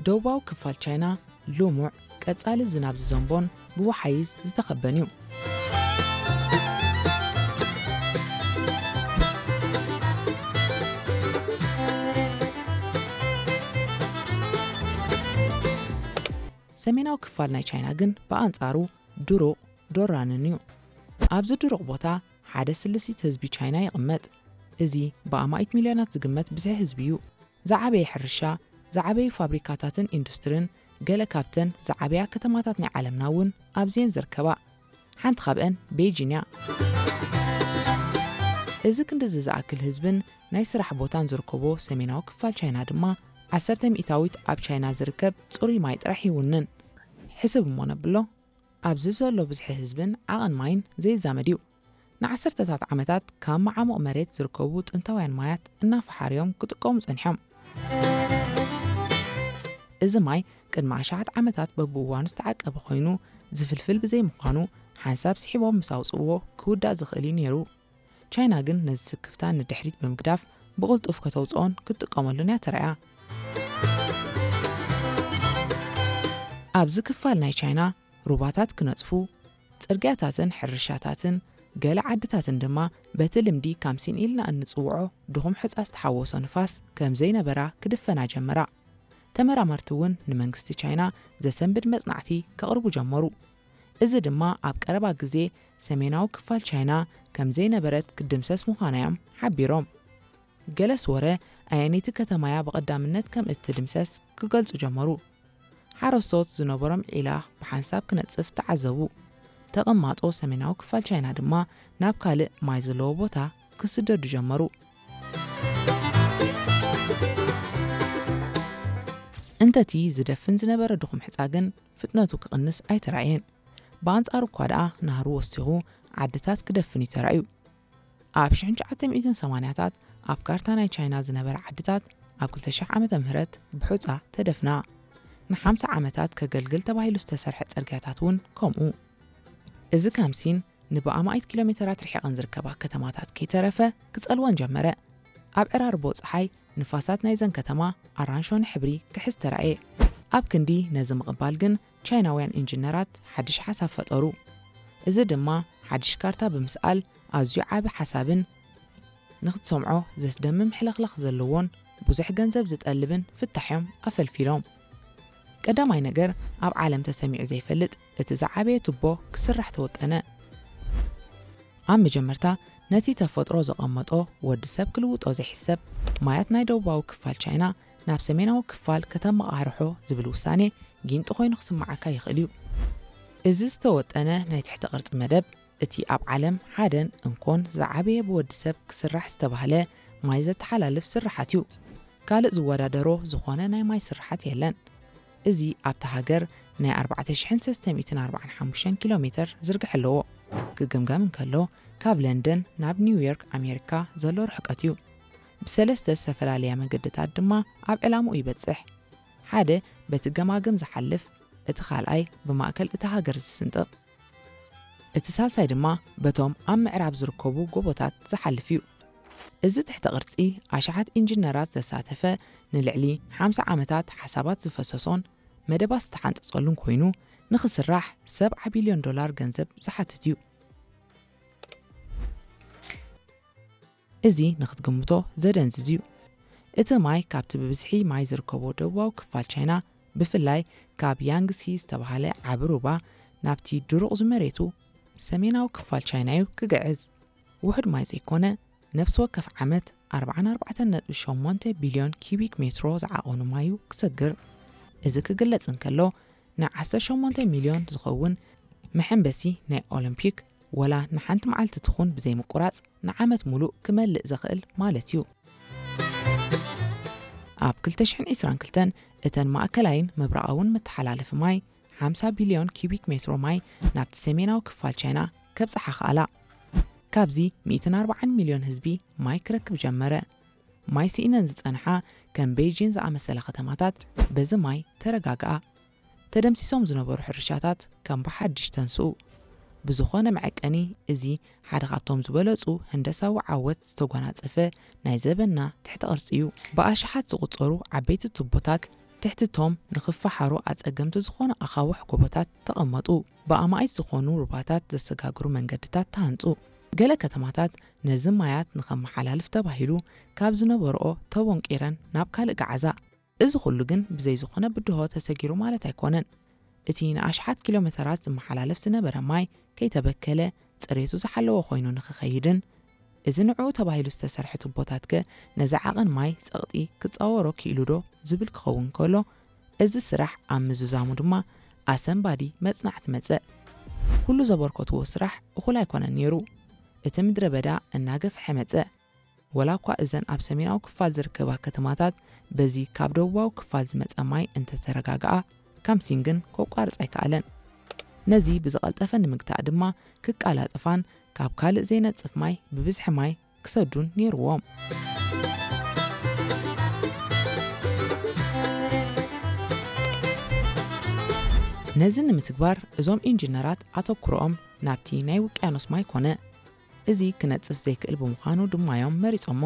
ደቡባዊ ክፋል ቻይና ልሙዕ ቀጻሊ ዝናብ ዝዘንቦን ብወሓይዝ ዝተኸበን እዩ። ሰሜናዊ ክፋል ናይ ቻይና ግን ብኣንጻሩ ድሩቕ ዶራንን እዩ። ኣብዚ ድሩቕ ቦታ ሓደ ስልሲት ህዝቢ ቻይና ይቕመጥ። እዚ ብኣማኢት ሚልዮናት ዝግመት ብዝሒ ህዝቢ እዩ። ዝዓበየ ሕርሻ፣ ዝዓበዩ ፋብሪካታትን ኢንዱስትሪን፣ ገለ ካብተን ዝዓበያ ከተማታት ናይ ዓለምና እውን ኣብዚኤን ዝርከባ። ሓንቲ ካብአን ቤይጂን እያ። እዚ ክንድዚ ዝኣክል ህዝብን ናይ ስራሕ ቦታን ዝርከቦ ሰሜናዊ ክፋል ቻይና ድማ፣ ዓሰርተ ሚእታዊት ኣብ ቻይና ዝርከብ ጽሩይ ማይ ጥራሕ ይውንን። ሕስብ እሞ ነብሎ፣ ኣብዚ ዘሎ ብዝሒ ህዝብን ዓቐን ማይን ዘይዛመድ እዩ። ንዓሰርተታት ዓመታት ካብ መዓሙቕ መሬት ዝርከቡ ጥንታውያን ማያት እናፈሓርዮም ክጥቀሙ ጸኒሖም። እዚ ማይ ቅድሚ ኣሽሓት ዓመታት በብእዋኑ ዝተዓቀበ ኮይኑ፣ ዝፍልፍል ብዘይምዃኑ፣ ሓንሳብ ስሒቦም ምስ ኣውጽእዎ ክውዳእ ዝኽእል እዩ ነይሩ። ቻይና ግን ነዚ ስክፍታ ንድሕሪት ብምግዳፍ ብቕልጡፍ ከተውጽኦን ክትጥቀመሉን እያ ተራእያ። ኣብዚ ክፋል ናይ ቻይና ሩባታት ክነጽፉ፣ ጽርግያታትን ሕርሻታትን ገለ ዓድታትን ድማ በቲ ልምዲ ካምሲን ኢልና እንጽውዖ ድኹም ሑጻ ዝተሓወሶ ንፋስ ከም ዘይነበራ ክድፈና ጀመራ። ተመራመርቲ እውን ንመንግስቲ ቻይና ዘሰንብድ መጽናዕቲ ከቕርቡ ጀመሩ። እዚ ድማ ኣብ ቀረባ ግዜ ሰሜናዊ ክፋል ቻይና ከም ዘይነበረት ክድምሰስ ምዃና እዮም ሓቢሮም። ገለስ ወረ ኣየነይቲ ከተማያ ብቐዳምነት ከም እትድምሰስ ክገልጹ ጀመሩ። ሓረስቶት ዝነበሮም ዒላ ብሓንሳብ ክነጽፍ ተዓዘቡ። ተቐማጦ ሰሜናዊ ክፋል ቻይና ድማ ናብ ካልእ ማይ ዘለዎ ቦታ ክስደዱ ጀመሩ። እንተቲ ዝደፍን ዝነበረ ድኹም ሕጻ ግን ፍጥነቱ ክቕንስ ኣይተራእየን። ብኣንጻሩ እኳ ደኣ ናህሩ ወሲኹ ዓድታት ክደፍን እዩ ተራእዩ። ኣብ ሽሕን ትሽዓተ ሚእትን ሰማንያታት ኣብ ካርታ ናይ ቻይና ዝነበራ ዓድታት ኣብ ክልተ ሽሕ ዓመተ ምህረት ብሑጻ ተደፍና። ንሓምሳ ዓመታት ከገልግል ተባሂሉ ዝተሰርሐ ጽርግያታት እውን ከምኡ። እዚ ካምሲን ንብኣማኢት ኪሎ ሜተራት ርሒቐን ዝርከባ ከተማታት ከይተረፈ ክጸልወን ጀመረ። ኣብ ዕራርቦ ጸሓይ ንፋሳት ናይዘን ከተማ ኣራንሾኒ ሕብሪ ክሕዝ ተራእየ። ኣብ ክንዲ ነዚ ምቕባል ግን ቻይናውያን ኢንጂነራት ሓድሽ ሓሳብ ፈጠሩ። እዚ ድማ ሓድሽ ካርታ ብምስኣል ኣዝዩ ዓቢ ሓሳብን ንኽትሰምዖ ዘስደምም ሕልኽላኽ ዘለዎን ብዙሕ ገንዘብ ዝጠልብን ፍታሕ እዮም ኣፈልፊሎም። ቀዳማይ ነገር ኣብ ዓለም ተሰሚዑ ዘይፈልጥ እቲ ዝዓበየ ቱቦ ክስራሕ ተወጠነ። ኣብ መጀመርታ ነቲ ተፈጥሮ ዘቐመጦ ወዲ ሰብ ክልውጦ ዘይሕሰብ ማያት ናይ ደቡባዊ ክፋል ቻይና ናብ ሰሜናዊ ክፋል ከተመቓርሖ ዝብል ውሳኔ ጊንጢ ኮይኑ ክስምዓካ ይኽእል እዩ። እዚ ዝተወጠነ ናይ ትሕተ ቅርጺ መደብ እቲ ኣብ ዓለም ሓደን እንኮን ዝዓበየ ብወዲ ሰብ ክስራሕ ዝተባህለ ማይ ዘተሓላልፍ ስርሓት እዩ። ካልእ ዝወዳደሮ ዝኾነ ናይ ማይ ስርሓት የለን። እዚ ኣብታ ሃገር ናይ ኣርባዕተ ሽሕን ሰለስተ ሚእትን ኣርባዓን ሓሙሽተን ኪሎ ሜተር ዝርግሐ ኣለዎ። ክግምገም እንከሎ ካብ ለንደን ናብ ኒውዮርክ ኣሜሪካ ዘሎ ርሕቀት እዩ። ብሰለስተ ዝተፈላለያ መገድታት ድማ ኣብ ዕላምኡ ይበጽሕ። ሓደ በቲ ገማግም ዝሓልፍ፣ እቲ ካልኣይ ብማእከል እታ ሃገር ዝስንጥቕ፣ እቲ ሳልሳይ ድማ በቶም ኣብ ምዕራብ ዝርከቡ ጎቦታት ዝሓልፍ እዩ። እዚ ትሕተ ቅርጺ ኣሽሓት ኢንጂነራት ዘሳተፈ፣ ንልዕሊ ሓምሳ ዓመታት ሓሳባት ዝፈሰሶን መደባት ዝተሓንጸጸሉን ኮይኑ፣ ንኽስራሕ ሰብዓ ቢልዮን ዶላር ገንዘብ ዝሓትት እዩ። እዚ ንኽትግምቶ ዘደንዝዝ እዩ። እቲ ማይ ካብቲ ብብዝሒ ማይ ዝርከቦ ደቡባዊ ክፋል ቻይና፣ ብፍላይ ካብ ያንግሲ ዝተባህለ ዓቢ ሩባ ናብቲ ድሩቕ ዝመሬቱ ሰሜናዊ ክፋል ቻይና እዩ ክግዕዝ። ውሑድ ማይ ዘይኮነ፣ ነፍሲ ወከፍ ዓመት ኣርባዓን ኣርባዕተን ነጥቢ ሸሞንተ ቢልዮን ኪዩቢክ ሜትሮ ዝዓቐኑ ማይ እዩ ክሰግር። እዚ ክግለጽ እንከሎ፣ ን ዓሰርተ ሸሞንተ ሚልዮን ዝኸውን መሐንበሲ ናይ ኦሎምፒክ፣ ወላ ንሓንቲ መዓልቲ ትኹን ብዘይምቁራጽ ንዓመት ሙሉእ ክመልእ ዘኽእል ማለት እዩ። ኣብ ክልተ ሽሕን ዕስራን ክልተን እተን ማእከላይን ምብራቓውን መተሓላለፊ ማይ ሓምሳ ቢልዮን ኪዩቢክ ሜትሮ ማይ ናብቲ ሰሜናዊ ክፋል ቻይና ከብጽሓ ከኣላ። ካብዚ ሚእትን ኣርባዓን ሚልዮን ህዝቢ ማይ ክረክብ ጀመረ። ማይ ስኢነን ዝጸንሓ ከም ቤይጂን ዝኣመሰላ ከተማታት በዚ ማይ ተረጋግኣ። ተደምሲሶም ዝነበሩ ሕርሻታት ከም ብሓድሽ ተንስኡ። ብዝኾነ መዐቀኒ፣ እዚ ሓደ ካብቶም ዝበለጹ ህንደሳዊ ዓወት ዝተጎናጸፈ ናይ ዘበንና ትሕተ ቅርጺ እዩ። ብኣሽሓት ዝቑጸሩ ዓበይቲ ቱቦታት ትሕቲ እቶም ንኽፈሓሩ ኣጸገምቲ ዝኾኑ ኣኻውሕ ጎቦታት ተቐመጡ። ብኣማኢት ዝኾኑ ሩባታት ዘሰጋግሩ መንገድታት ተሃንጹ። ገለ ከተማታት ነዚ ማያት ንኸመሓላልፍ ተባሂሉ ካብ ዝነበርኦ ተቦንቂረን ናብ ካልእ ገዓዛ። እዚ ኩሉ ግን ብዘይ ዝኾነ ብድሆ ተሰጊሩ ማለት ኣይኮነን። እቲ ንኣሽሓት ኪሎ ሜተራት ዝመሓላለፍ ዝነበረ ማይ ከይተበከለ ጽሬቱ ዝሓለወ ኮይኑ ንኽኸይድን፣ እዚ ንዕኡ ተባሂሉ ዝተሰርሐ ቱቦታት ከ ነዚ ዓቐን ማይ ጸቕጢ ክጻወሮ ክኢሉ ዶ ዝብል ክኸውን ከሎ፣ እዚ ስራሕ ኣብ ምዝዛሙ ድማ ኣሰንባዲ መጽናዕቲ መጸ። ኩሉ ዘበርከትዎ ስራሕ እኹል ኣይኮነን ነይሩ። እቲ ምድረ በዳ እናገፍሐ መጸ። ወላ እኳ እዘን ኣብ ሰሜናዊ ክፋል ዝርከባ ከተማታት በዚ ካብ ደቡባዊ ክፋል ዝመጸ ማይ እንተተረጋግኣ፣ ካምሲን ግን ከቋርጽ ኣይከኣለን። ነዚ ብዝቐልጠፈ ንምግታእ ድማ ክቃላጠፋን ካብ ካልእ ዘይነጽፍ ማይ ብብዝሒ ማይ ክሰዱን ነይርዎም። ነዚ ንምትግባር እዞም ኢንጂነራት ኣተኩሮኦም ናብቲ ናይ ውቅያኖስ ማይ ኮነ። እዚ ክነጽፍ ዘይክእል ብምዃኑ ድማ እዮም መሪጾሞ።